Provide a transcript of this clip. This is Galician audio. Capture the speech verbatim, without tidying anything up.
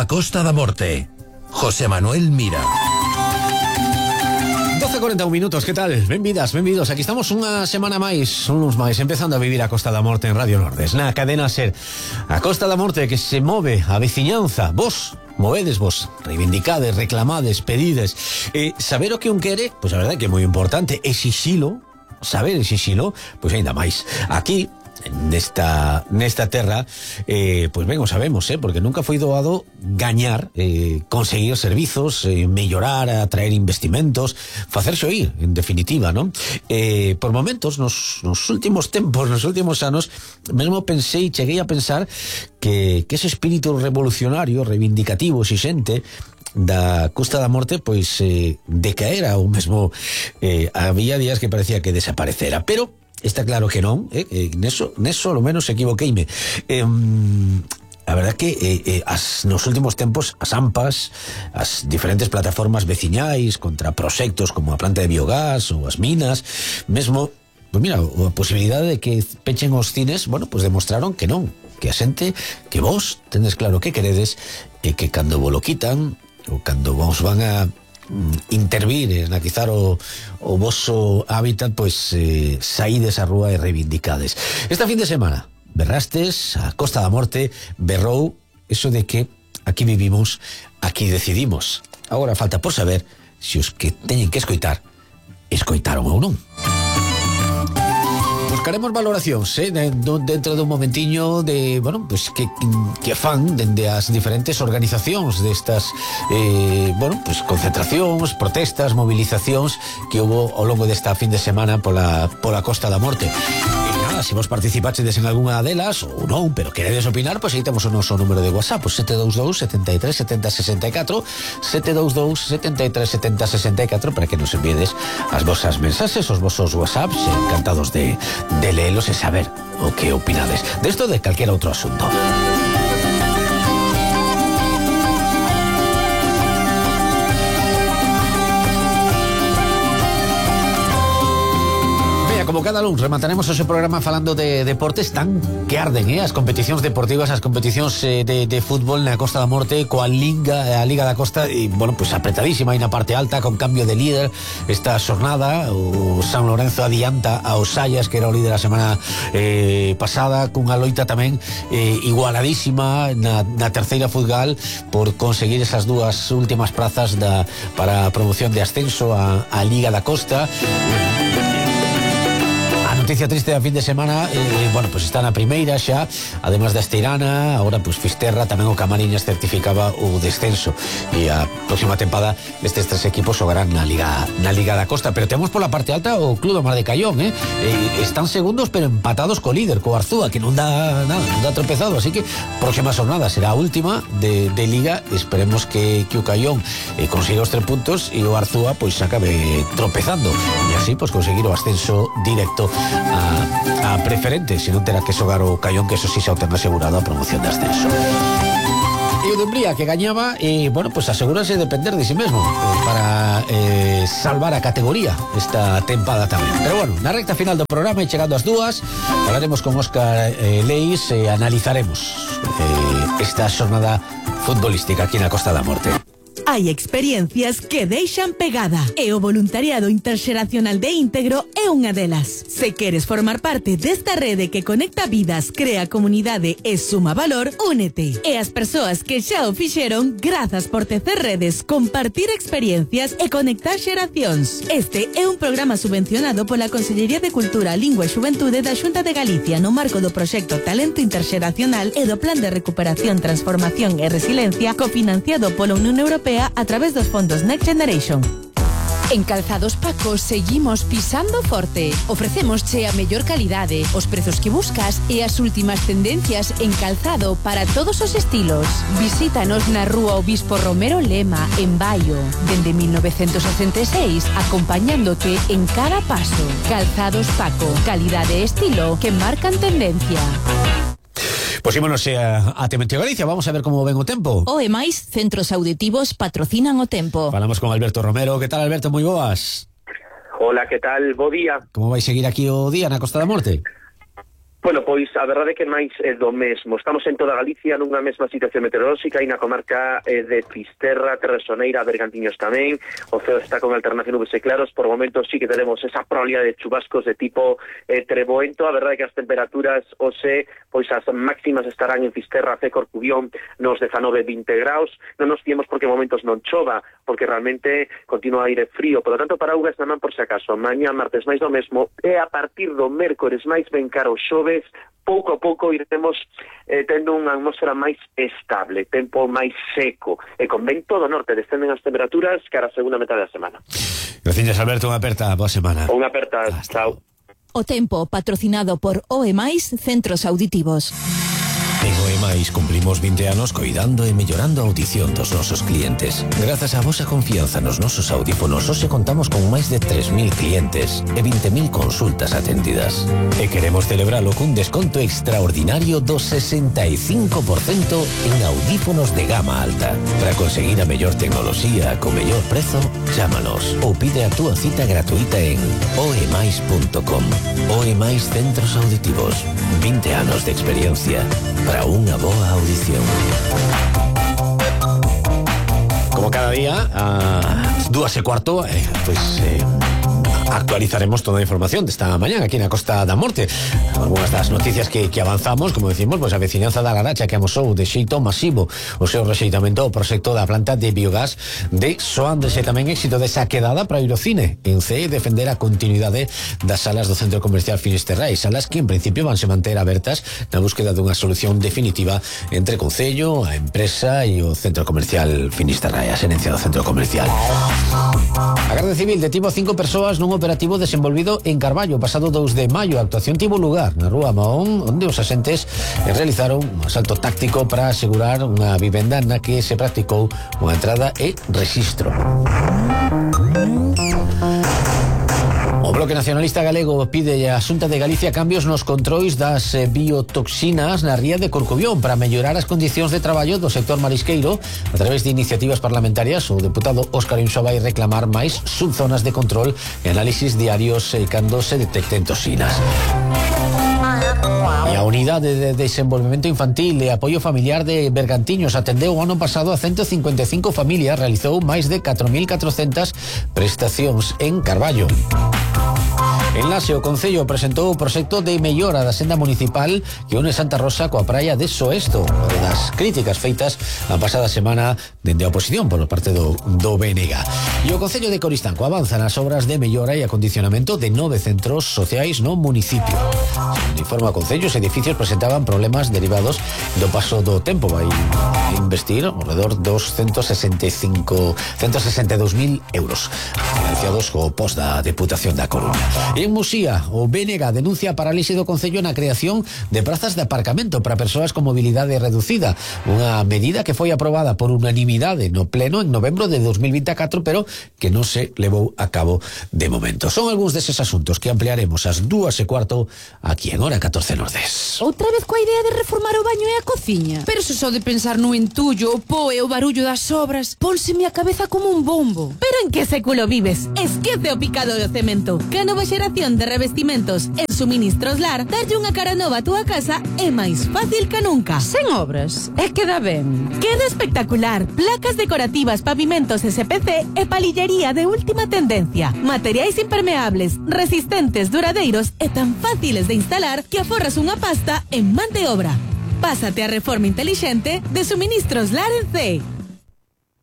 a Costa da Morte. José Manuel Mira. doce e cuarenta y un minutos, que tal? Benvidas, benvidos. Aquí estamos unha semana máis, uns máis, empezando a vivir a Costa da Morte en Radio Nordes, na cadena SER. A Costa da Morte que se move a veciñanza. Vos movedes, vos reivindicades, reclamades, pedides. E saber o que un quere, pois a verdade que é moi importante. Exixilo, saber exixilo, pois ainda máis. Aquí, nesta nesta terra, eh, pois ben o sabemos, eh, porque nunca foi doado gañar, eh, conseguir servizos, eh, mellorar, atraer investimentos, facerse oír, en definitiva, non? Eh, por momentos, nos, nos últimos tempos, nos últimos anos, mesmo pensei, cheguei a pensar que, que ese espírito revolucionario, reivindicativo, exixente da Costa da Morte, pois eh, decaera ou mesmo eh, había días que parecía que desaparecera, pero está claro que non, eh, eh, neso, neso lo menos equivoqueime. Eh, a verdad que eh, eh, as, nos últimos tempos as AMPAs, as diferentes plataformas veciñais contra proxectos como a planta de biogás ou as minas, mesmo, pues mira, a posibilidade de que pechen os cines, bueno, pues demostraron que non, que a xente, que vos tendes claro que queredes e que cando vos lo quitan ou cando vos van a intervir, analizar o, o voso hábitat, pois eh, saídes a rúa e reivindicades. Esta fin de semana berrastes, a Costa da Morte berrou eso de que aquí vivimos, aquí decidimos. Agora falta por saber se os que teñen que escoitar escoitaron ou non. Buscaremos valoracións, eh, dentro dun momentiño de, bueno, pues que, que fan dende as diferentes organizacións destas, eh, bueno, pues concentracións, protestas, movilizacións que hubo ao longo desta fin de semana pola, pola Costa da Morte. E nada, se vos participachedes en algunha delas ou non, pero queredes opinar, pois aí temos o noso número de WhatsApp, pues sete dous dous, sete tres, sete zero, seis catro, sete dous dous, sete tres, sete zero, seis catro, para que nos enviedes as vosas mensaxes, os vosos WhatsApps, encantados de de leelos e saber o que opinades desto de calquera outro asunto. Como cada lunes remataremos ese programa falando de deportes tan que arden, eh? As competicións deportivas, as competicións eh, de, de fútbol na Costa da Morte, coa Liga, a Liga da Costa, e, bueno, pues apretadísima aí na parte alta, con cambio de líder esta xornada. O San Lorenzo adianta ao Sallas, que era o líder a semana eh, pasada, cunha loita tamén eh, igualadísima na, na terceira futgal por conseguir esas dúas últimas prazas da, para a promoción de ascenso a, a Liga da Costa. Noticia triste da fin de semana, eh, bueno, pues está na primeira xa, además da Esteirana, agora pues Fisterra, tamén o Camariñas certificaba o descenso, e a próxima tempada estes tres equipos xogarán na Liga na Liga da Costa, pero temos pola parte alta o Club do Mar de Caión, eh? eh están segundos pero empatados co líder, co Arzúa, que non dá nada, non dá tropezado, así que próxima jornada será a última de, de Liga. Esperemos que, que o Caión eh, consiga os tres puntos e o Arzúa pois pues, acabe tropezando, e así pues conseguir o ascenso directo A, a preferente, se non terá que xogar o Caión, que eso sí xa o ten asegurado a promoción de ascenso. E o de Umbría, que gañaba, e, bueno, pues asegúrase de depender de sí mesmo eh, para eh, salvar a categoría esta tempada tamén. Pero bueno, na recta final do programa e chegando ás dúas, falaremos con Óscar eh, Leis e analizaremos eh, esta xornada futbolística aquí na Costa da Morte. Hai experiencias que deixan pegada e o voluntariado interxeracional de Íntegro é unha delas. Se queres formar parte desta rede que conecta vidas, crea comunidade e suma valor, únete. E as persoas que xa o fixeron, grazas por tecer redes, compartir experiencias e conectar xeracións. Este é un programa subvencionado pola Consellería de Cultura, Lingua e Xuventude da Xunta de Galicia no marco do proxecto Talento Interxeracional e do Plan de Recuperación, Transformación e Resiliencia cofinanciado pola Unión Europea a través dos fondos Next Generation. En Calzados Paco seguimos pisando forte. Ofrecémosche a mellor calidade, os prezos que buscas e as últimas tendencias en calzado para todos os estilos. Visítanos na Rúa Obispo Romero Lema, en Baio, dende mil novecentos sesenta e seis, acompañándote en cada paso. Calzados Paco, calidade e estilo que marcan tendencia. Pois ímonos a, a Tementeo Galicia, vamos a ver como ven o tempo. O e máis, centros auditivos patrocinan o tempo. Falamos con Alberto Romero. Que tal, Alberto? Moi boas. Hola, que tal? Bo día. Como vai seguir aquí o día na Costa da Morte? Bueno, pois a verdade é que máis é do mesmo. Estamos en toda Galicia nunha mesma situación meteorolóxica e na comarca eh, de Fisterra, Terresoneira, Bergantiños tamén. O ceo está con alternación nubes e claros. Por momentos sí que tenemos esa probabilidade de chubascos de tipo eh, treboento. A verdade é que as temperaturas hoxe, pois as máximas estarán en Fisterra, C, Corcubión, nos dezanove vinte graus. Non nos fiemos porque en momentos non chova, porque realmente continua aire frío. Por lo tanto, para Ugas namán por se acaso. Mañá, martes máis do mesmo. E a partir do mércores máis ben caro xove, pouco a pouco iremos eh, tendo unha atmosfera máis estable, tempo máis seco, e con vento do norte descenden as temperaturas cara a segunda metade da semana. Gracias, Alberto, unha aperta, boa semana. Unha aperta, chao. O tempo patrocinado por O E Mais Centros Auditivos. En O E Mais cumplimos vinte anos coidando e mellorando a audición dos nosos clientes. Grazas á vosa confianza nos nosos audífonos, hoxe contamos con máis de tres mil clientes e vinte mil consultas atendidas. E queremos celebralo cun desconto extraordinario do sesenta e cinco por cento en audífonos de gama alta. Para conseguir a mellor tecnoloxía co mellor prezo, chámanos ou pide a túa cita gratuita en oemais punto com. O E Mais Centros Auditivos. vinte anos de experiencia para unha boa audición. Como cada día, a dúas e cuarto, eh, pues eh, actualizaremos toda a información desta mañá aquí na Costa da Morte. Algunas das noticias que, que avanzamos, como decimos, pues a veciñanza da Laracha que amosou de xeito masivo o seu rexeitamento ao proxecto da planta de biogás de Soándese. Tamén éxito desa quedada para ir ao cine en C E defender a continuidade das salas do Centro Comercial Finisterrae, salas que en principio vanse manter abertas na búsqueda dunha solución definitiva entre o Concello, a empresa e o Centro Comercial Finisterrae, a xerencia do Centro Comercial. A Garda Civil detivo a cinco persoas nun operativo desenvolvido en Carballo pasado dous de maio. A actuación tivo lugar na Rúa Mahón, onde os axentes realizaron un asalto táctico para asegurar unha vivenda na que se practicou unha entrada e rexistro. O Bloque Nacionalista Galego pide a Xunta de Galicia cambios nos controis das biotoxinas na ría de Corcubión para mellorar as condicións de traballo do sector marisqueiro. A través de iniciativas parlamentarias, o deputado Óscar Inso vai reclamar máis subzonas de control e análisis diarios cando se detecten toxinas. E a Unidade de Desenvolvemento Infantil e Apoio Familiar de Bergantiños atendeu o ano pasado a ciento cincuenta e cinco familias, realizou máis de catro mil catrocentas prestacións en Carballo. En Laxe, o Concello presentou o proxecto de mellora da senda municipal que une Santa Rosa coa praia de Soesto, unha das críticas feitas a pasada semana dende a oposición por parte do, do B N G. E o Concello de Coristanco avanza nas obras de mellora e acondicionamento de nove centros sociais no municipio. Segundo informa o Concello, os edificios presentaban problemas derivados do paso do tempo. Vai investir alrededor dos ciento sesenta e cinco, ciento sesenta e dous mil euros financiados co post da Deputación da Coruña. En Muxía, o B N G denuncia a parálise do Concello na creación de prazas de aparcamento para persoas con mobilidade reducida, unha medida que foi aprobada por unanimidade no pleno en novembro de dos mil vinte e catro, pero que non se levou a cabo de momento. Son algúns deses asuntos que ampliaremos ás dúas e cuarto aquí en Hora catorce Nordés. Outra vez coa idea de reformar o baño e a cociña? Pero se só de pensar no entullo, o po e o barullo das obras, pónseme a cabeza como un bombo. Pero en que século vives? Esquece o picado do cemento. Que a nova xeración de revestimentos en Suministros Lar darlle unha cara nova a túa casa é máis fácil que nunca. Sen obras, é queda ben. Queda espectacular. Placas decorativas, pavimentos S P C e palillería de última tendencia. Materiais impermeables, resistentes, duradeiros e tan fáciles de instalar que aforras unha pasta en man de obra. Pásate a reforma inteligente de Suministros Lar en C.